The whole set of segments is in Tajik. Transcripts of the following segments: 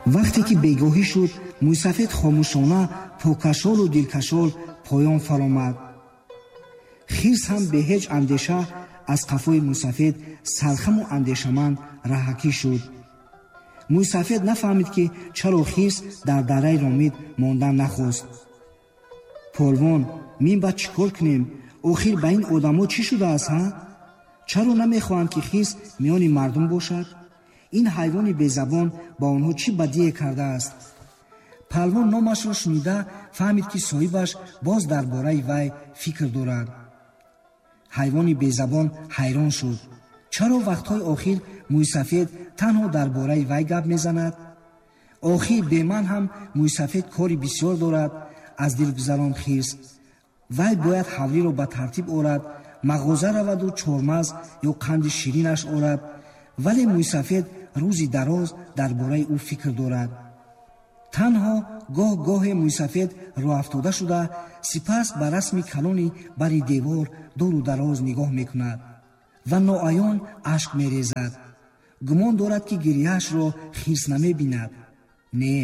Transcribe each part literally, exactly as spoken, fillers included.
Вақте ки бегоҳӣ шуд, мӯйсафед хомӯшона, покашолу дилкашол поён фаромад. Хирс ҳам бе ҳеҷ андеша аз қафои мӯйсафед сархаму андешаманд раҳакӣ шуд. Мӯйсафед нафаҳмид, ки чаро хирс дар дараи Ромит мондан нахост. Полвон, мин баъд чӣ кор кунем? Охир ба ин одамо чӣ шудааст, ҳа? Чаро намехоҳанд, ки хирс миёни мардум бошад? Ин ҳайвони безабон ба онҳо чӣ бадие кардааст? Палвон номашро шунида фаҳмид, ки соҳибаш боз дар бораи вай фикр дорад. Ҳайвони безабон ҳайрон шуд. Чаро вақтҳои охир мӯйсафед танҳо дар бораи вай гап мезанад? Охир бе ман ҳам мӯйсафед кори бисёр дорад, аз дил гузаронд хирс. Вай бояд ҳавлиро ба тартиб орад, мағоза раваду чормағз ё қанди ширинаш орад, вале мӯйсафед рӯзи дароз дар бораи ӯ фикр дорад. Танҳо гоҳ-гоҳе мӯйсафед роҳафтода шуда, сипас ба расми калони бари девор дуру дароз нигоҳ мекунад ва ноаён ашк мерезад. Гумон дорад, ки гирияашро хирс намебинад. Не,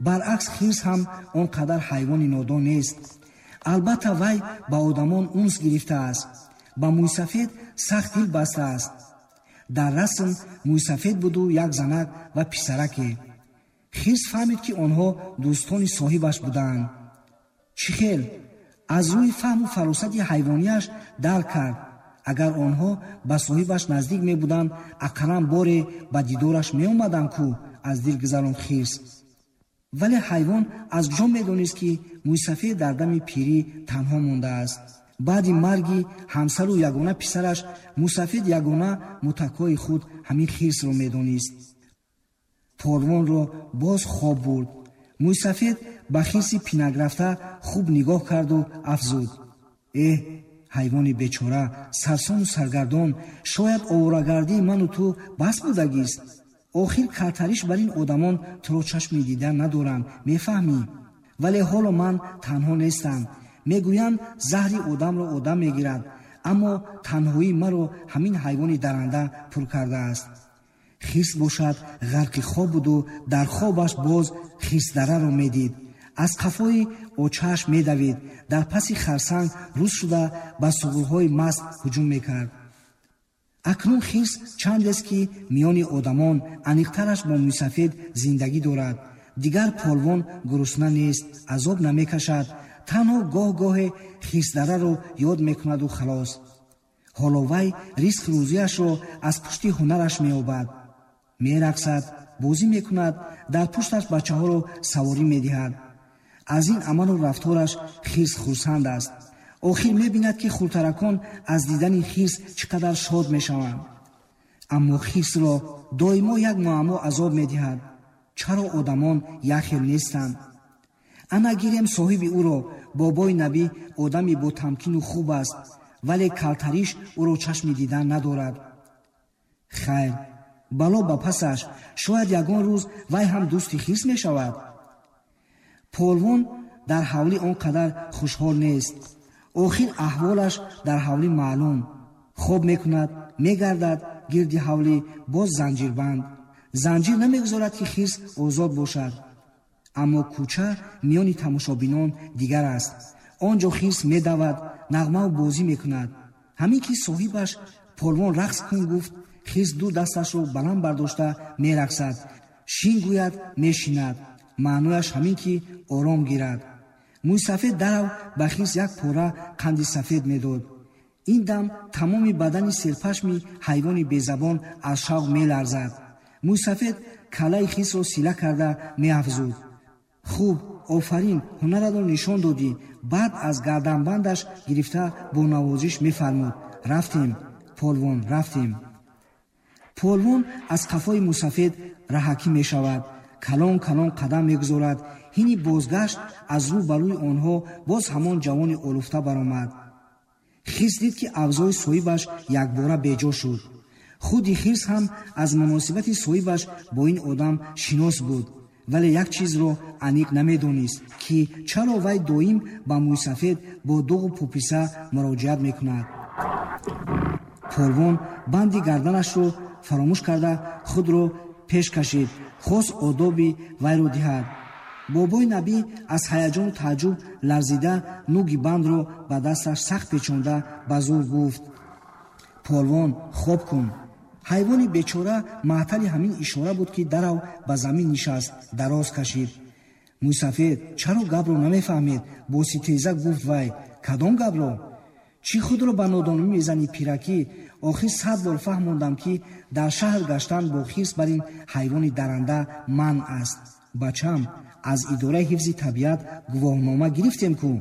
баръакс, хирс ҳам он қадар ҳайвони нодон нест. Албатта, вай ба одамон унс гирифтааст, ба мӯйсафед сахт дил бастааст. Дар расм мӯйсафед буду як занак ва писараке. Хирс фаҳмид, ки онҳо дӯстони соҳибаш будаанд. Чӣ хел аз рӯи фаҳму фаросати ҳайвонияш дарк кард, агар онҳо ба соҳибаш наздик мебуданд, ақаллан боре ба дидораш меомаданд ку, аз дил гузаронд хирс. Вале ҳайвон аз куҷо медонист, ки мӯйсафед дар дами пирӣ танҳо мондааст? Баъди марги ҳамсару ягона писараш мӯйсафед ягона муттакои худ ҳамин хирсро медонист. Порвонро боз хоб бурд. Мӯйсафед ба хирси пинакрафта хуб нигоҳ карду афзуд: эҳ, ҳайвони бечора, сарсону саргардон, шояд оворагардии ману ту бас будагист. Охир калтариш бар ин одамон туро чашми дида надоранд, мефаҳмӣ? Вале ҳоло ман танҳо нестам. Мегӯянд, заҳри одамро одам мегирад, аммо танҳоии маро ҳамин ҳайвони даранда пур кардааст. Хирс бошад, ғарқи хоб буду дар хобаш боз хирсдараро медид. Аз қафои очааш медавид, дар паси харсанг рӯз шуда, ба суғурҳои маст ҳуҷум мекард. Акнун хирс чандест, ки миёни одамон, аниқтараш бо мӯйсафед, зиндагӣ дорад. Дигар полвон гурусна нест, азоб намекашад, танҳо гоҳ-гоҳе хирсдараро ёд мекунаду халос. Ҳоло вай ризқ рӯзиашро аз пушти ҳунараш меёбад. Мерақсад, бозӣ мекунад, дар пушташ бачаҳоро саворӣ медиҳад. Аз ин амалу рафтораш хирс хурсанд аст. Охир мебинад, ки хурдтаракон аз дидани хирс чӣ қадар шод мешаванд. Аммо хирсро доимо як муаммо азоб медиҳад: чаро одамон якхел нестанд? Ана гирем соҳиби ӯро, Бобои Набӣ, одами ботамкину хуб аст, вале калтариш ӯро чашми дидан надорад. Хайр, бало ба пасаш, шояд ягон рӯз вай ҳам дӯсти хирс мешавад. Полвон дар ҳавлӣ он қадар хушҳол нест. Охир аҳволаш дар ҳавлӣ маълум: хоб мекунад, мегардад гирди ҳавлӣ, боз занҷирбанд. Занҷир намегузорад, ки хирс озод бошад. Аммо кӯча, миёни тамошобинон дигар аст. Он ҷо хирс медавад, нағмаву бозӣ мекунад. Ҳамин ки соҳибаш «Полвон, рақс кун» гуфт, хирс ду дасташро баланд бардошта мерақсад. Шин гӯяд, мешинад. Маънояш ҳамин, ки ором гирад. Мӯйсафед дарав ба хирс як пора қанди сафед медод. Ин дам тамоми бадани серпашми ҳайвони безабон аз шавқ меларзад. Мӯйсафед каллаи хирсро сила карда меафзуд: хуб, офарин, ҳунаратро нишон додӣ. Баъд аз гарданбандаш гирифта бо навозиш мефармуд: рафтем, полвон, рафтем. Полвон аз қафои мӯйсафед раҳакӣ мешавад, калон калон қадам мегузорад. Ҳини бозгашт аз рӯ ба рӯи онҳо боз ҳамон ҷавони олуфта баромад. Хирс дид, ки авзои соҳибаш якбора беҷо шуд. Худи хирс ҳам аз муносибати соҳибаш бо ин одам шинос буд, вале як чизро аниқ намедонист, ки чаро вай доим ба мӯйсафед бо дуғу пуписа муроҷиат мекунад. Полвон банди гарданашро фаромӯш карда, худро пеш кашид, хост одоби вайро диҳад. Бобои Набӣ аз ҳаяҷону тааҷҷуб ларзида нуги бандро ба дасташ сахт печонда ба зур гуфт: полвон, хоб кун. Ҳайвони бечора маътали ҳамин ишора буд, ки дарав ба замин нишаст, дароз кашид. Мӯйсафед, чаро гапро намефаҳмед? Бо ситеза гуфт вай. Кадом гапро? Чӣ худро ба нодонӣ мезанӣ, пиракӣ? Охир сад бор фаҳмондам, ки дар шаҳр гаштан бо хирс бар ин ҳайвони даранда манъ аст. Бачам, аз идораи ҳифзи табиат гувоҳнома гирифтем ку.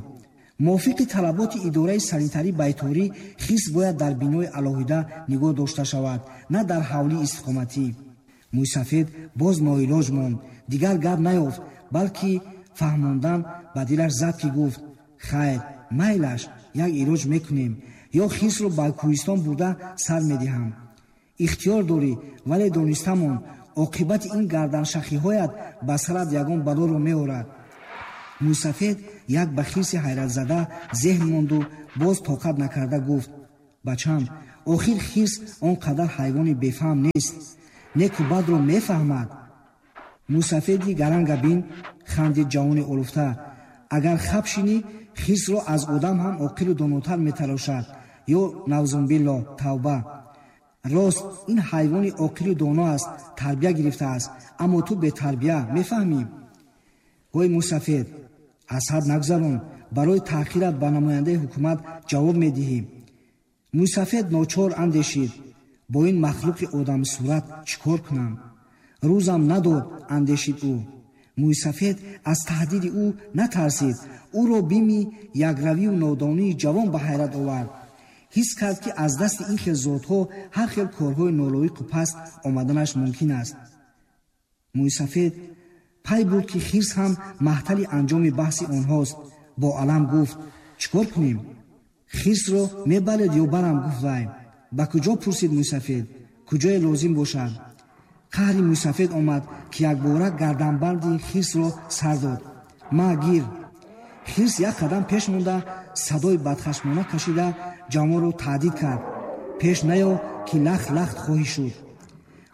Мувофиқи талаботи идораи санитарӣ байторӣ, хирс бояд дар бинои алоҳида нигоҳ дошта шавад, на дар ҳавлии истиқоматӣ. Мӯйсафед боз ноилоҷ монд, дигар гап наёфт, балки фаҳмондан ба дилаш зад, ки гуфт: хайр, майлаш, як илоҷ мекунем, ё хирсро ба кӯҳистон бурда сар медиҳам. Ихтиёр дорӣ, вале донистамон, оқибати ин гарданшахиҳоят ба сарат ягон балоро меорад. Мӯйсафед як ба хирси ҳайратзада зеҳн монду боз тоқат накарда гуфт: бачам, охир хирс он қадар ҳайвони бефаҳм нест, неку бадро мефаҳмад. Мӯйсафеди гарангабин, хандид ҷавони олуфта, агар хаб шинӣ, хирсро аз одам ҳам оқилу донотар метарошад. Ё навзумбилло, тавба. Рост, ин ҳайвони оқилу доно аст, тарбия гирифтааст, аммо ту бетарбия, мефаҳмӣ? Ҳой мӯйсафед, аз ҳад нагзарон, барои таъхират ба намояндаи ҳукумат ҷавоб медиҳӣ. Мӯйсафед ночор андешид: бо ин махлуқи одамсурат чӣ кор кунам? Рӯзам надод, андешид ӯ. Мӯйсафед аз таҳдиди ӯ натарсид, ӯро бими якравию нодонии ҷавон ба ҳайрат овард. Ҳис кард, ки аз дасти ин хел зотҳо ҳар хел корҳои нолоиқу паст омаданаш мумкин аст. Мӯйсафед пай бурд, ки хирс ҳам маҳтали анҷоми баҳси онҳост. Бо алам гуфт: чӣ кор кунем? Хирсро мебаред ё барам? Гуфт вай. Ба куҷо? Пурсид мӯйсафед. Куҷое лозим бошад. Қаҳри мӯйсафед омад, ки якбора гарданбанди хирсро сар дод. Ма, гир! Хирс як қадам пеш монда, садои бадхашмона кашида ҷавонро таҳдид кард: пеш наё, ки лахт лахт хоҳӣ шуд.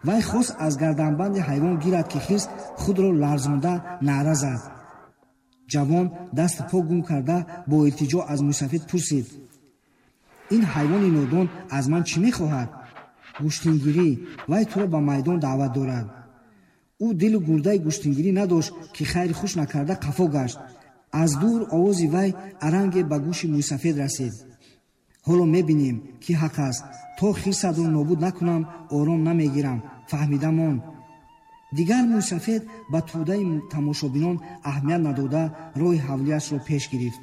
Вай хост аз гарданбанди ҳайвон гирад, ки хирс худро ларзонда наъра зад. Ҷавон дасту по гум карда бо илтиҷо аз мӯйсафед пурсид: ин ҳайвони нодон аз ман чӣ мехоҳад? Гӯштингирӣ. Вай туро ба майдон даъват дорад. Ӯ дилу гурдаи гӯштингирӣ надошт, ки хайри хуш накарда қафо гашт. Аз дур овози вай аранге ба гӯши мӯйсафед расид. Ҳоло мебинем, ки ҳақ аст. То хирсатро нобуд накунам, ором намегирам. Фаҳмида мон. Дигар мӯйсафед ба тӯдаи тамошобинон аҳамият надода роҳи ҳавлияшро пеш гирифт.